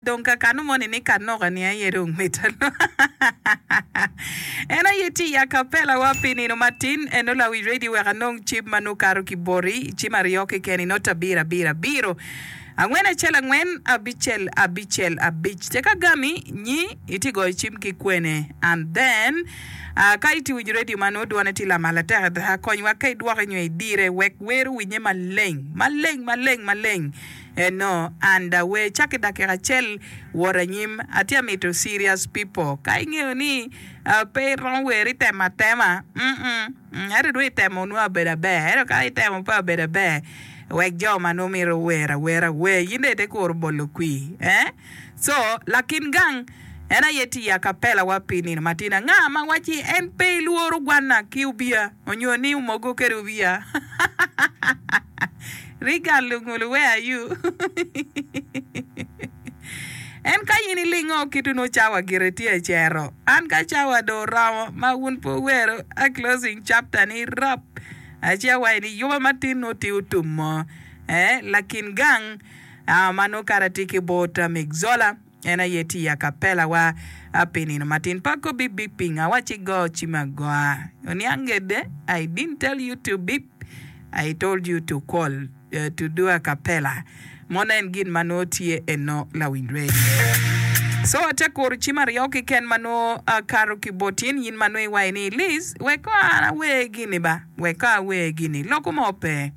Dong ka kanu moni ni kanoka ni aye dong mita En aye tye i acapella wa pi nino matin eno lawic radio wek anong cim ma nongo kato ki boti cim aryo keken inot abiro abiro abiro angwen acel angwen abicel abicel abic tek agami nyi itye goyo cim ki kwene and then ka itye winyo radio ma nongo dwone tye lamal atek adada konywa ka idwoke nyo idire wek wer owinye maleng maleng maleng maleng Eno and awer cak i dakika acel wot anyim atye amito serious people ka ingeyo ni pe iromo wer itemo atema mm ento dong itemo nongo abedo aber ento ka itemo pe abedo aber wek jo ma nongo mito wer awera wer in dong ite kuro bolo kwir eh so lakin gang en aye tye i acapella wa pi nino matin anga ma wacci en pe ilworo gwanna ki obiya onyo ni omogo kede obiya. Reagan Lungulu where are you? En ka in ilingo kit onongo cawa gire tye cero. An ka cawa dong oromo ma wun pe wuwero a closing chapter ni rap ci awaci ni yuba matin nongo tye otum mo. Eh, lakin gang ah, ma nongo kara tye ki bot Migzola. En aye tye i acapella wa pi nino matin. Pe akobi beeping, awacci go cim agoa. Oniang ngede, I didn't tell you to beep, I told you to call, to do acapella. Mono en gin ma nongo tye eno lawiny radio. So ate kuro cim aryo keken ma nongo akato ki bot in, in ma nongo iwaco ni Liz, wek ko an awer gini ba, wek ko awer gini. Loko mo pe.